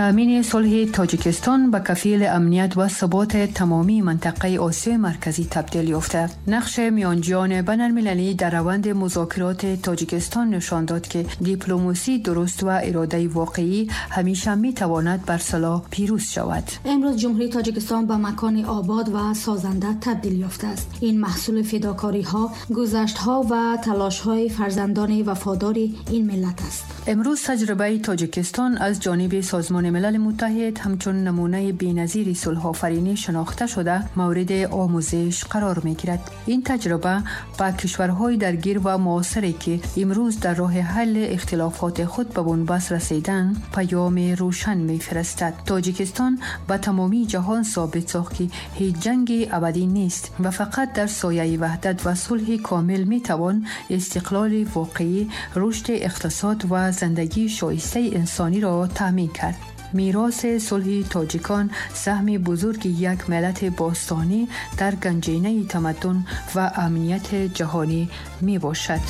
Таъмини сулҳи Тоҷикистон ба кафили амният ва суботи тамомии минтақаи Осиёи Марказӣ табдил ёфта. Нақши миёнҷиёни байналмилалӣ дар раванди музокироти Тоҷикистон нишон дод, ки дипломасии дуруст ва иродаи воқеӣ ҳамеша метавонад бар силоҳ пирӯз шавад. Имрӯз Ҷумҳурии Тоҷикистон ба макони обод ва созанда табдил ёфтааст. Ин маҳсули фидокориҳо, гузаштҳо ва талошҳои фарзандони вафодори ин миллат аст. Имрӯз таҷрибаи Тоҷикистон аз ҷониби Созмони Милали Муттаҳид ҳамчун намунаи беназири сулҳофаринӣ шинохта шуда, мавриди омӯзиш қарор мегирад. Ин таҷриба ба кишварҳои даргир ва муосире, ки имрӯз дар роҳи ҳалли ихтилофоти худ ба бунбаст расидан, паёми рӯшан мефиристад. Тоҷикистон ба тамомии ҷаҳон собит сохт, ки ҳеҷ ҷанги абадӣ нест ва фақат дар сояи ваҳдат ва сулҳи комил метавон истиқлоли воқеӣ, рушди иқтисод ва зиндагии шоистаи инсониро таъмин кард. Мероси сулҳи тоҷикон саҳми бузурги як миллати бостонӣ дар ганҷинаи тамаддун ва амнияти ҷаҳонӣ мебошад.